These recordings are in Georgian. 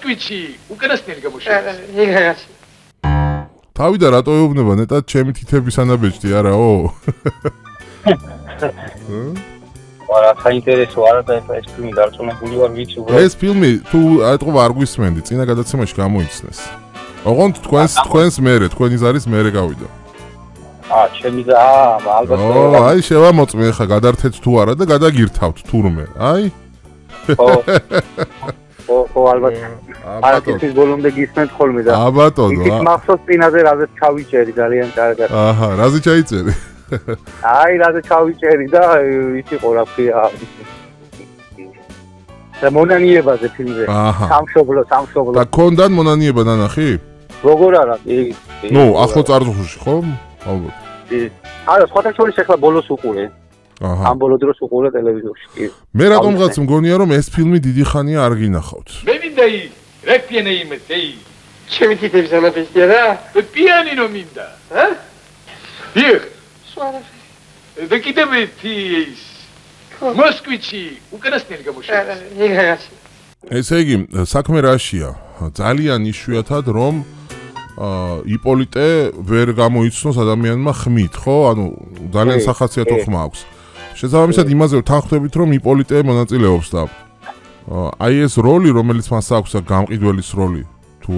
კვიჩი უკანასკნელი გამოშვება. იგრაში. თავი და რატო ეუბნება ნეტად ჩემი თითების ანაბეჭდი არაო? არა, საინტერესო არა და ეს ფილმი დარწმუნებული ვარ ვიცი უბრალოდ. ეს ფილმი თუ ატყობა არ გვისმენდი, წინა გადაცემაში გამოიცნეს. ოღონდ თქვენს მერე, თქვენი ზარის მერე გავიდა. ჩემი და ალბათ. აი შევამოწმე ხა გადართეთ თუ არა და გადაგირთავთ თურმე. აი. ხო, ალბათ. არა, ის ბოლომდე გისმენთ ხოლმე და. ბატონო. ის მახსოვს წინაზე რაზეც ჩავიჭერი ძალიან კარგად. აჰა, რაზე ჩაიწერი? აი, რაზე ჩავიჭერი და ის იყო რა ქვია. და მონანიებაზე ფილმზე. სამშობლო. და კონდან მონანიება ნანახი? როგორ არა? ნუ, ახლო წარსულში ხო? ალბათ. არა, სხვათა შორის ახლა ბოლოს უყურე. აჰა. ამ ბოლო დროს უყურე ტელევიზორში. მე რატომღაც მგონია რომ ეს ფილმი დიდი ხანია არ გინახავთ. მე მინდა რეპიენე იმეთეი. ჩემი თითების ანაბეჭდია რა? პიანინო მინდა. დიახ. სვარაფი. და კიდევ ის მოსკვიჩი უკანასკნელი გამოშვება. იგრაში. ესე იგი, საქმე რაშია? ძალიან იშვიათად რომ იპოლიტე ვერ გამოიცნოს ადამიანმა ხმით, ხო? ანუ ძალიან სახასიათო ხმა აქვს. შესაბამისად იმაზე ვთანხმდებით, რომ იპოლიტე მონაწილეობს და აი ეს როლი, რომელიც მას აქვს, გამყიდველის როლი, თუ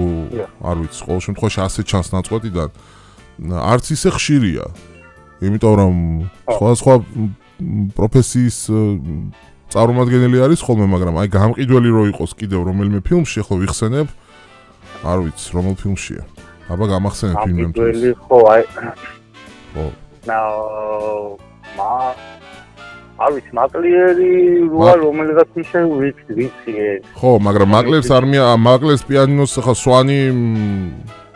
არ ვიცი, ყოველ შემთხვევაში ასე ჩანს ნაწყვეტიდან, არც ისე ხშირია. იმიტომ რომ სხვა პროფესიის წარმომადგენელი არის ხოლმე, მაგრამ აი გამყიდველი რო იყოს კიდევ რომელიმე ფილმში, ახლა ვიხსენებ, არ ვიცი, რომელ ფილმშია. აბა გამახსენებ ფილმი. გამყიდველი ხო, აი. ხო. არ ვიცი, მაკლერი როა რომელიღაც ისე ვიცი. ხო, მაგრამ მაკლერს პიანინოს ახლა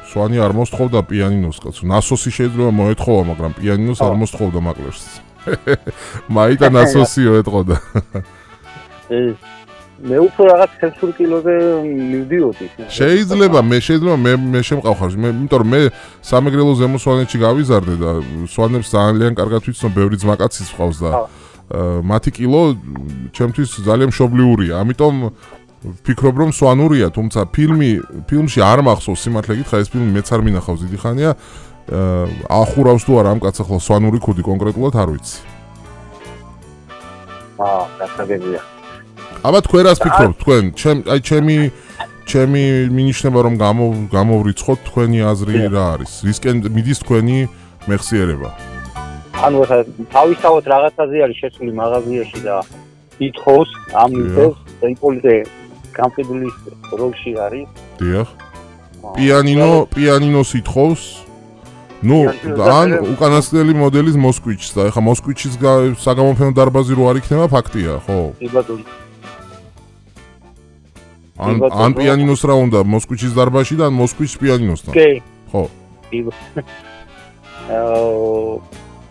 სვანი არ მოსთხოვდა პიანინოს კაცო. ნასოსი შეიძლება მოეთხოვა, მაგრამ პიანინოს არ მოსთხოვდა მაკლერს. მაიტა ნასოსიო ეთყოდა. მე უფრო რაღაც ცენსურ კილოზე მივდიოდი. შეიძლება მე შემყავხარ, იმიტომ რომ მე სამეგრელო ზემო სვანეთში გავიზარდე და სვანებს ძალიან კარგად ვიცნობ, ბევრი ძმაკაციც ყავს და მათი კილო ჩემთვის ძალიან მშობლიურია. ამიტომ ვფიქრობ რომ სვანურია, თუმცა ფილმში არ მახსოვს სიმართლე გითხრა, ეს ფილმი მეც არ მინახავს დიდი ხანია. ახურავს თუ არა ამ კაცს ახლა სვანური ქუდი კონკრეტულად არ ვიცი. გასაგებია. აბა თქვენ რას ფიქრობთ? თქვენ ჩემი მინიშნება რომ გამოვრიცხოთ თქვენი აზრი რა არის? რისკენ მიდის თქვენი მეხსიერება? ანუ თავისთავად რაღაცაზე არის შესული მაღაზიაში და ითხოვს ამ ისეს და იპოლიტე გამყიდვლის როლში არის. დიახ. პიანინოს ითხოვს. ნუ ან უკანასკნელი მოდელის მოსკვიჩს და ეხა მოსკვიჩის საგამოფენო დარბაზი რო არ იქნება ფაქტია, ხო? კი ბატონო. ან პიანინოს რა უნდა მოსკვიჩის დარბაზში და ან მოსკვიჩს პიანინოსთან. კი. ხო.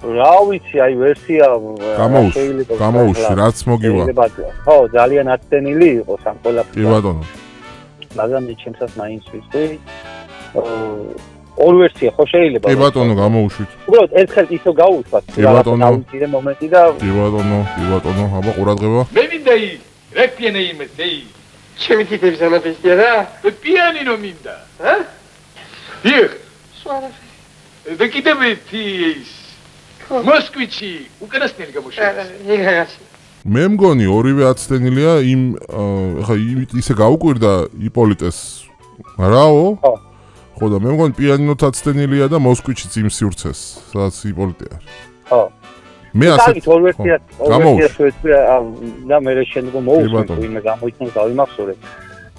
რა ვიცი, აი ვერსია გამოუშვი, რაც მოგივა. ხო, ძალიან აცდენილი იყოს ამ ყველაფერს. კი ბატონო. მაგრამ ჩემსაც მაინც ვიცი. ორ ვერსია ხო შეიძლება? კი ბატონო, გამოუშვით. უბრალოდ ერთხელ ისო გაუშვათ. კი ბატონო. დავიცირე მომენტი და კი ბატონო, აბა ყურადღება. მე მინდა რეპიენე იმეთეი. ჩემი თითების ანაბეჭდია რა? პიანინო მინდა. დიახ. სვარაფი. და კიდევ ის მოსკვიჩი უკანასკნელი გამოშვება. იგრაში. მე მგონი ორივე აცდენილია ეხა ისე გაუკვირდა იპოლიტეს. რაო? ხო. ხო და მე მგონი პიანინოც აცდენილია და მოსკვიჩიც იმ სივრცეს, სადაც იპოლიტე არის. ხო. მე ასე ორ ვერსია შეეცვია და მე შემდგომ მოусმენ ვინმე გამოიცნოს დავიმახსოვრე.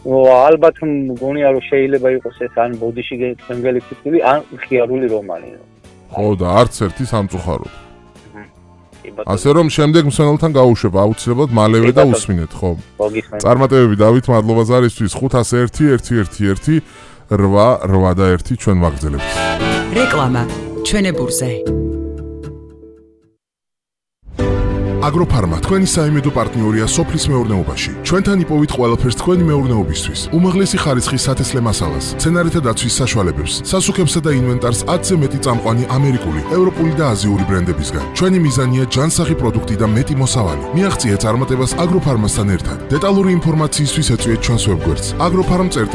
ალბათ მგონია რომ შეიძლება იყოს ეს ან ბოდიში გემგელი ფიქრი ან ხიარული რომანი. ხო და არც ერთი სამწუხაროდ. ასე რომ შემდეგ მსმენელთან გაუშვებ აუცილებლად მალევე და უსმინეთ, ხო? წარმატებები დავით, მადლობა ზარისთვის 501 881 ჩვენ ვაგრძელებთ. რეკლამა ჩვენებურზე. აგროფარმა თქვენი საიმედო პარტნიორია სოფლის მეურნეობაში. ჩვენთან იპოვით ყველაფერს თქვენი მეურნეობისთვის. უმაღლესი ხარისხის სათესლე მასალას, მცენარეთა დაცვის საშუალებებს, სასუქებსა და ინვენტარს 10-ზე მეტი წამყვანი ამერიკული, ევროპული და აზიური ბრენდებისგან. ჩვენი მიზანია ჯანსაღი პროდუქტი და მეტი მოსავალი. მიაღწიეთ წარმატებას აგროფარმასთან ერთად. დეტალური ინფორმაციისთვის ეწვიეთ ჩვენს ვებგვერდს agrofarm.com